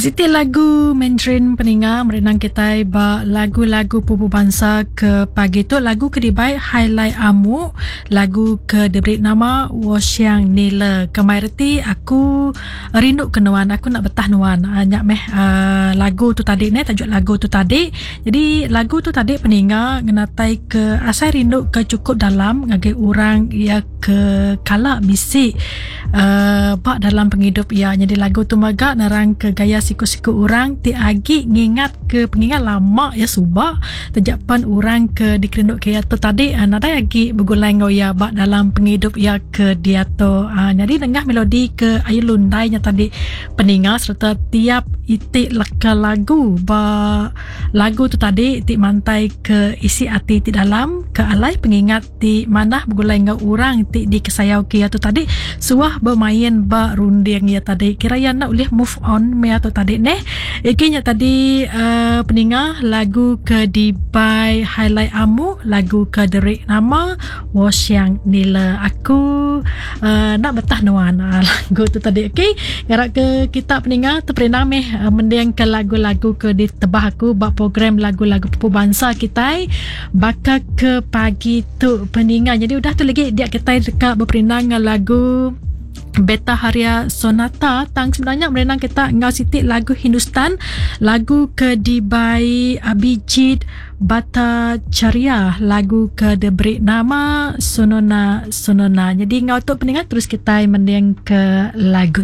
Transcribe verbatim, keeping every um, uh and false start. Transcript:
Siti lagu Mandarin peninga merenang kitai ba lagu-lagu pupu bansa ke pagi tu, lagu ke dibai Highlight Amuk, lagu ke diberi nama Wo Xiang Nile, ke mai reti aku rindu ke nuan, aku nak betah nuan. Uh, nya meh uh, lagu tu tadi ne, tajuk lagu tu tadi. Jadi lagu tu tadi peninga ngenatai ke asai rindu ke cukup dalam ngagai orang ia ke kala bisi uh, ba dalam pengidup ia. Jadi lagu tu mega nerang ke gaya siku-siku orang ti agi ngingat ke pengingat lama ya suba tejapan orang ke dikerinduk ke ia tu tadi uh, nadai agi begulai ngau ia ba dalam pengidup ia ke dia tu. Uh, jadi nengah melodi ke ayu lundai nya tadi peninga serta tiap itik leka lagu ba lagu tu tadi ti mantai ke isi ati ti dalam ke alai pengingat ti manah begulai ngau orang ti dikesayau ke ia tu tadi suah bermain ba runding ia tadi, kira ia nak boleh move on mea tu tadi neh. Iki nya tadi uh, peninga lagu ke dibai Highlight Amu, lagu ke derik nama Wo Xiang Nile, aku uh, nak betah nuan, uh, lagu tu tadi. Okey, ngarap ke kita peninga terperindang meh uh, mending ke lagu-lagu ke ditebah aku ba program lagu-lagu pupu bansa kita baka ke pagi tu peninga. Jadi udah tu lagi dia kita dekat berperindang dengan lagu Beta Haria Sonata, tang sebenarnya merenang kita ngau sitik lagu Hindustan, lagu ke dibai Abhijit Bhattacharya, lagu ke diberi nama Sonona Sonona. Jadi ngau tu peningat terus kita mending ke lagu